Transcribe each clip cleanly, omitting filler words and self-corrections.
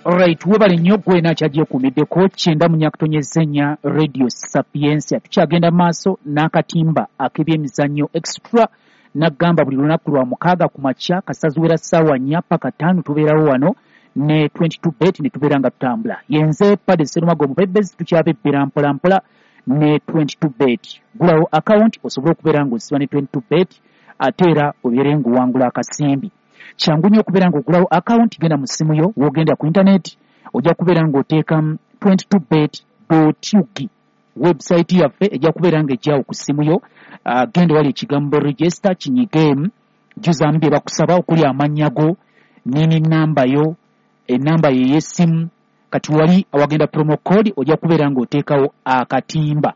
Alright, webale nnyo gwe nakyagyekuumiddeko 94.4 Radio Sapientia. Tukyagenda maaso n'akatimba ak'ebyemizannyo extra. Nagamba buli lunaku lwa mukaaga ku makya kasaziwera ssaawa 4 paka 5 tubeerawo wano ne 22 bet ne tubeera nga tutambula. Yenze Pade Serumago Mubebezi, tukyabebbera mpola mpola ne 22 bet. Gulawo account osobole okubeera ng'osiba ne 22 bet ate era obeere ng'owangula akasimbi. Kyangu nnyo okubeera ng'ogulawo account, genda mu ssimu yo, w'ogenda ku internet ojja kubeera ng'oteekamu 22bet.ug. Website yaffe ejja kubeera ng'ejjawo ku ssimu yo. Genda wali ekigambo register kinyigeemu, jjuzaamu bye bakusaba okuli amannya go nini namba yo, enamba ye ey'essimu. Kati wali awagenda promo code ojja kubeera ng'oteekawo akatimba.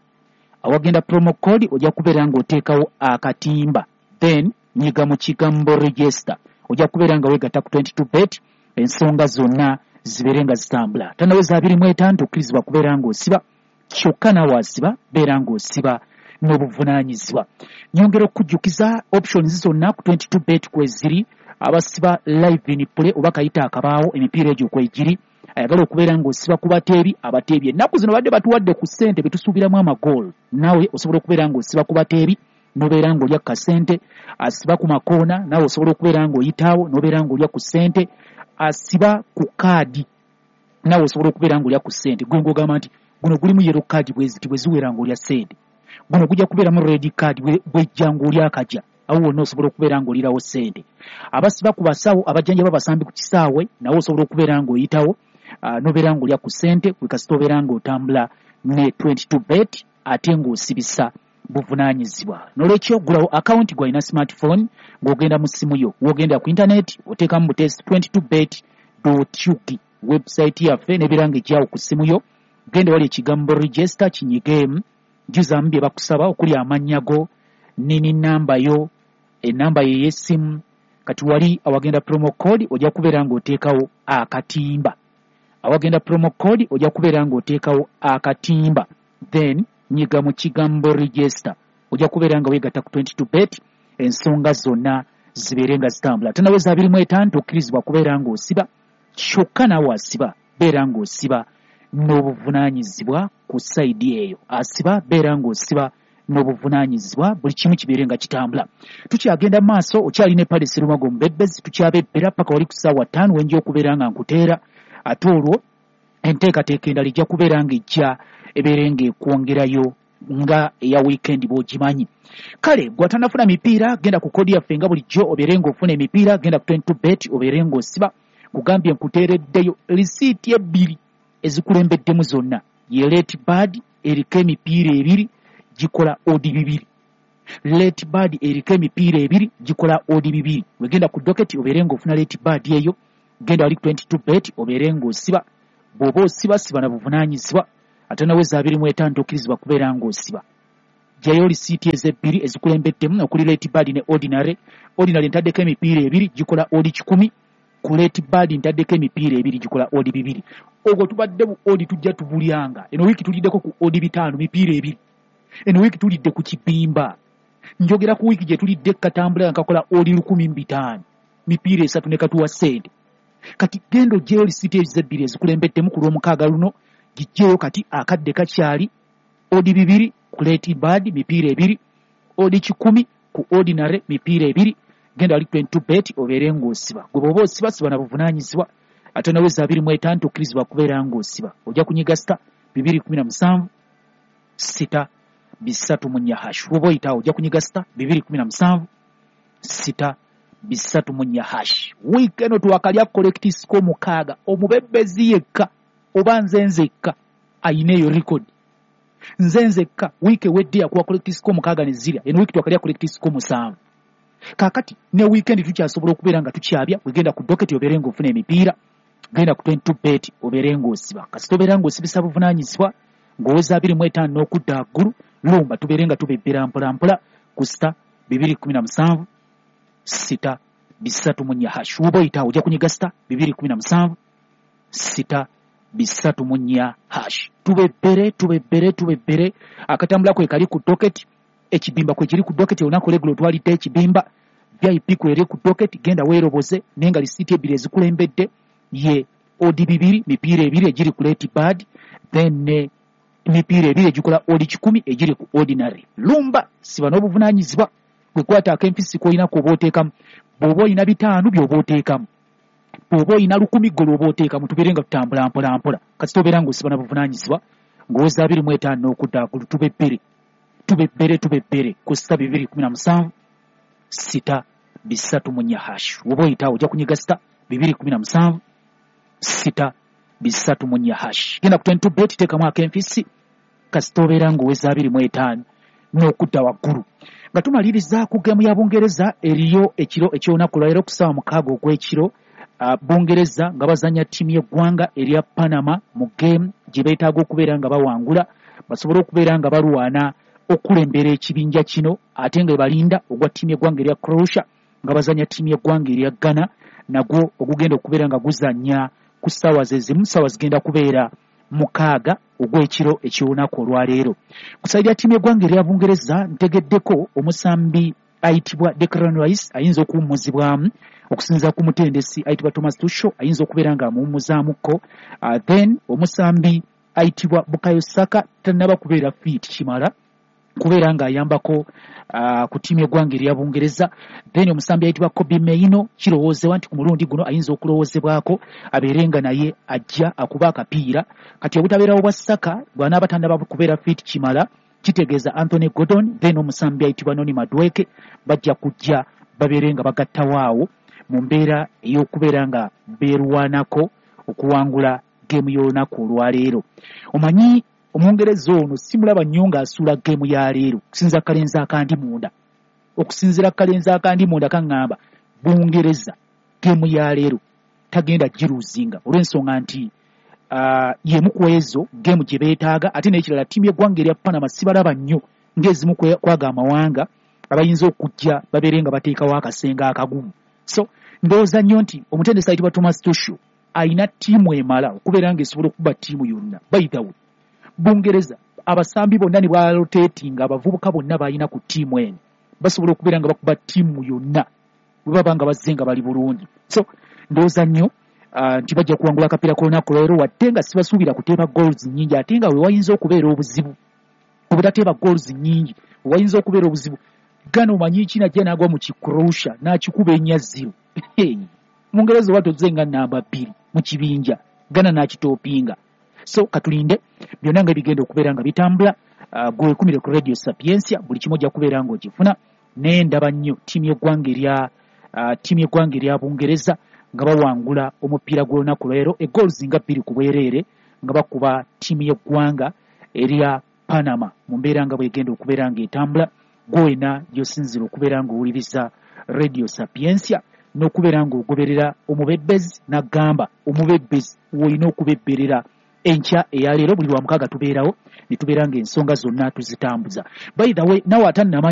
Awagenda promo code ojja kubeera ng'oteekawo akatimba, then nyiga mu kigambo register, ojja kubeera nga weegatta ku 22 bet, ensonga zonna zibeere nga zitambula. Tanaweza 25 tokkirizibwa kubeera ng'osiba, kyokka naawe asiba beera ng'osiba n'obuvunaanyizibwa. Nyongera okukujjukiza options zonna ku 22 bet kweziri, abasiba live in play oba kayita akabaawo emipiira egyo kwegiri. Ayagala okubeera ng'osiba ku bateebi, abateebi ennaku zino badde batuwadde ku ssente betusuubiramu amagoolo, naawe osobola okubeera ng'osiba ku bateebi n'obeera ng'olya ku kasente. Asiba ku makoona naawe osobola okubeera ng'oyitaawo n'obeera ng'olya ku ssente. Asiba ku kaadi naawe osobola okubeera ng'olya ku ssente. Gwe ng'ogamba nti guno gulimu yellow card bweziti bwe ziwera ng'olya ssente, guno gujja kubeeramu red card bwejja ng'olya akajja, awo wonna osobola okubeera ng'olirawo ssente. Abasiba ku basawo abajjanjaba abasambi ku kisaawe nawe osobola okubeera ng'oyitawo n'obeera ng'olya ku ssente gwe kasita obeera ng'otambula ne 22 bet ate ng'osibisa buvunaanyizibwa. N'olwekyo gulawo akawunti gw'alina smartphone ng'ogenda mu ssimu yo, w'ogenda ku internet oteekamu butesi 22bet.ug website yaffe n'ebeera ng'ejjawo ku ssimu yo. Genda wali ekigambo register kinyigeemu, jjuzaamu bye bakusaba okuli amannya go nini namba yo, enamba ye ey'essimu. Kati wali awagenda promo code ojja kubeera ng'oteekawo akatimba. Awagenda promo code ojja kubeera ng'oteekawo akatimba, then nyiga mu kigambo register, ojja kubeera nga weegatta ku 22 bet, ensonga zonna zibeere nga zitambula. Tanaweza 25 tokkirizibwa kubeera ng'osiba, kyokka naawe asiba beera ng'osiba n'obuvunaanyizibwa ku sayidi eyo. Asiba beera ng'osiba n'obuvunaanyizibwa, buli kimu kibeere nga kitambula. Tukyagenda mu maaso, okyalina Pale Serumago Mubebezi, tukyabebbera paka wali ku ssaawa 5 wenja okubeera nga nkuteera. Ate olwo enteekateeka endala ejja kubeera ng'ejja ebeere ng'ekwongerayo nga eya weekend bw'ogimanyi. Kale gw'atannafuna mipiira genda ku kodi yaffe nga bulijjo obeere ng'ofuna emipiira, genda ku 22 bet obeere ng'osiba. Kugambye nkuteereddeyo lisiiti ebbiri ezikulembeddemu zonna, ye late bird eriko emipiira ebiri gikola odi bibiri, late bird eriko emipiira ebiri gikola odi bibiri. Wegenda ku docket obeere ng'ofuna late bird eyo, genda wali 22 bet obeere ng'osiba. Bw'oba osiba siba na buvunaanyizibwa, ate naweza 25 tokkirizibwa kubeera ng'osiba. Ggyayo lisiiti ezebbiri ezikulembeddemu okuli late bird ne ordinary. Ordinary ntaddeko emipiira ebiri gikola odi 100, ku late bird ntaddeko emipiira ebiri gikola odi 2. Ogwo tubadde bu odi tujja tubulyanga. Eno wiiki tuliddeko ku odi 5 mipiira ebiri. Eno wiiki tulidde ku kibimba. Njogera ku wiiki gye tulidde katambula nga kakola odi 1500 mipiira 3 ne katuwa ssente. Kati genda oggyeyo lisiiti ezebbiri ezikulembeddemu ku lw'omukaaga luno, giggyeyo kati akadde kakyali. Odi 2 ku late bird mipiira ebiri, odi 100 ku ordinary mipiira ebiri. Genda wali 22 bet obeere ng'osiba. Gwe bw'oba osiba siba na buvunaanyizibwa, ate naweza 25 tokkirizibwa kubeera ng'osiba. Ojja kunyiga star 217 6 3 hash. Bw'oba oyitaawo ojja kunyiga star 217 6 3 hash. Wiiki eno twakalya correct score 6, omubebezi yekka oba nze nzekka ayina eyo record. Nze nzekka wiiki ewedde yakuwa correct score 6 ne zirya, eno wiiki twakalya correct score 7. Kaakati ne weekend tukyasobola okubeera nga tukyabya. Wegenda ku docket obeere ng'ofuna emipiira, genda ku 22 bet obeere ng'osiba. Kasita obeera ng'osibisa buvunaanyizibwa ng'oweza 25 n'okudda waggulu, lumba tubeere nga tubebbera mpola mpola ku star 217 6 3 hash. Woba oyitaawo ojja kunyiga star 217 6 3 hash. Tubebbere tubebbere tubebbere. Akatambula kwe kali ku docket, ekibimba kwe kiri ku docket. Olunaku olweggulo twalidde ekibimba, VIP kweri ku docket, genda weeroboze. Naye nga lisiiti ebbiri ezikulembedde ye odd 2, mipiira 2 egiri ku late bird, then ne emipiira 2 egikola odd 100 egiri ku ordinary. Lumba siba n'obuvunaanyizibwa, gwe kwata ak'empisi k'olina k'oba oteekamu. Bw'oba olina 5 by'oba oteekamu, bw'oba olina 1000 gwe lw'oba oteekamu, tubeere nga tutambula mpola mpola. Kasita obeera ng'osiba na buvunaanyizibwa ng'oweza 25 n'okudda waggulu, tube bbere ku sita 217 6 3 hash. Woba oyitawo ojja kunyiga sita 217 6 3 hash. Genda ku 22 bet, teekamu ak'enfisi, kasita obeera ng'oweza 25 n'okudda waggulu. Nga tumaliriza ku geemu ya Bungereza eriyo ekiro eky'olunaku lwaleero ku ssaawa 6 ogw'ekiro, Bungereza nga bazannya ttiimu y'eggwanga erya Panama mu geemu gye beetaaga okubeera nga bawangula basobole okubeera nga balwana okulembera ekibinja kino, ate nga balinda ogwa ttiimu y'eggwanga erya Croatia nga bazannya ttiimu y'eggwanga erya Ghana, nagwo ogugenda okubeera nga guzannya ku ssaawa ze zimu, ssaawa zigenda kubeera 6 ogw'ekiro eky'olunaku olwaleero. Ku sayidi ya ttiimu y'eggwanga erya Bungereza ntegeddeko omusambi ayitibwa Declan Rice ayinza okuwummuzibwamu okusinziira ku mutendesi ayitibwa Thomas Tuchel, ayinza okubeera nga amuwummuzaamuko. Then omusambi ayitibwa Bukayo Saka tannaba kubeera fit kimala kubeera ng'ayambako ku ttiimu y'eggwanga erya Bungereza. Then omusambi ayitibwa Kobbie Mainoo kirowoozebwa nti ku mulundi guno ayinza okulowoozebwako abeere nga naye ajja akuba akapiira. Kati obutabeerawo bwa Saka bw'anaaba tannaba kubeera fit kimala kitegeeza Anthony Gordon then omusambi ayitibwa Noni Madueke bajja kujja babeere nga bagattawo awo mu mbeera ey'okubeera nga beerwanako okuwangula geemu y'olunaku olwaleero. Omanyi Omungereza ono simulaba nnyo ng'asuula geemu ya leero okusinziira kalenzi akandi munda. Okusinziira kalenzi akandi munda kaŋŋamba Bungereza geemu ya leero tagenda giruuzinga olw'ensonga nti y'emu ku ezo geemu gye beetaaga. Ate n'ekirala ttiimu y'eggwanga erya Panama sibalaba nnyo ng'ezimu kwaga amawanga abayinza okujja babeere nga bateekawo akasenga akagumu. So ndowooza nnyo nti omutendesi ayitibwa Thomas Tuchel ayina ttiimu emala okubeera ng'esobola okuba ttiimu yonna. By the way, Bungereza abasambi bonna ne bwaloteetinga abavubuka bonna balina ku ttiimu eno basobola okubeera nga bakuba ttiimu yonna bwe baba nga bazze nga bali bulungi. So ndowooza nnyo nti bajja kuwangula akapiira k'olunaku lwaleero, wadde nga sibasuubira kuteeba goals nnyingi, ate nga we wayinza okubeera obuzibu obutateeba goals nnyingi, we wayinza okubeera obuzibu. Ghana omanyi ki najja n'agwa mu Kicroatia n'akikuba 4-0. Mungereza oba tozze nga namba 2 mu kibinja, Ghana n'akitoopinga. So katulinde byonna nga ebigenda okubeera nga bitambula. Gwe wekumire ku Radio Sapientia, buli kimu ojja kubeera ng'ogifuna. Naye ndaba nnyo ttiimu y'eggwanga erya ttiimu y'eggwanga erya Bungereza nga bawangula omupiira gw'olunaku lwaleero egoals nga 2 ku bwereere nga bakuba ttiimu y'eggwanga erya Panama mu mbeera nga bwegenda okubeera ng'etambula. Gwena gy'osinziira okubeera ng'owuliriza Radio Sapientia n'okubeera ng'ogoberera omubebbezi, n'agamba omubebbezi w'olina okubebberera enkya eyaleero. Buli lwa mukaaga tubeerawo ne tubeera ng'ensonga zonna tuzitambuza. By the way, nawe atannamanya